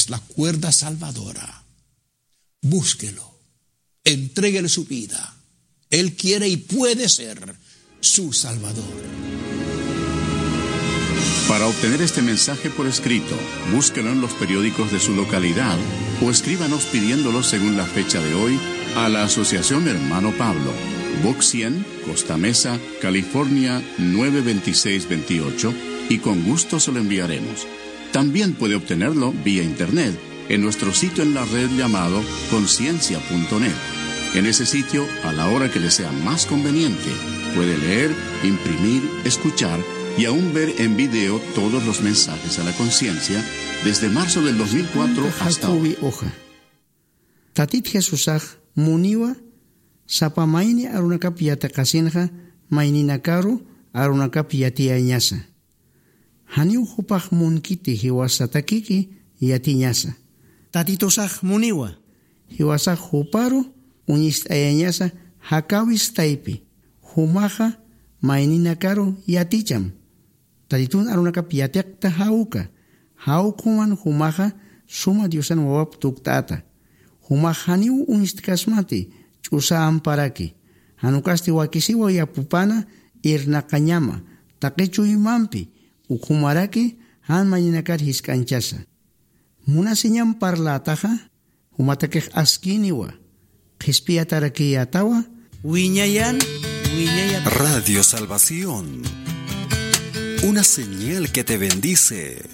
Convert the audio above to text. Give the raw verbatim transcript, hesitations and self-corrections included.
la cuerda salvadora. Búsquelo. Entréguele su vida. Él quiere y puede ser su Salvador. Para obtener este mensaje por escrito, búsquelo en los periódicos de su localidad o escríbanos pidiéndolo según la fecha de hoy a la Asociación Hermano Pablo, Box cien, Costa Mesa, California nueve veintiséis veintiocho, y con gusto se lo enviaremos. También puede obtenerlo vía internet en nuestro sitio en la red llamado conciencia punto net. En ese sitio, a la hora que le sea más conveniente, puede leer, imprimir, escuchar y aún ver en video todos los mensajes a la conciencia desde marzo del dos mil cuatro hasta hoy. Jacobi hoja. Tatit Jesusax muniwa sapa mayni arunakap yatiqasinxa mayninakaru arunakap yatiyañasa. Janiw jupax munkiti jiwasatakiki yatiñasa. Tatitusax muniwa. Jiwasax juparu uñist'ayañasa jakawis taypi. Jumaxa mayninakaru yaticham. Tatitun arunakap yatiqta jawka. Jawkhuman jumaxa suma Diosan wawap tukt'ata. Jumax janiw uñstkasmati ch'usa amparaki. Janukasti wakisiwa yapupana irnaqañama. Taqi chuymampi ukhumaraki jan mayninakar jisk'anchasa. Munasiñam parlätaxa, jumatakix askiniwa, qhispiyatarakiyätawa. Wiñayan, wiñayan. Radio Salvación, una señal que te bendice.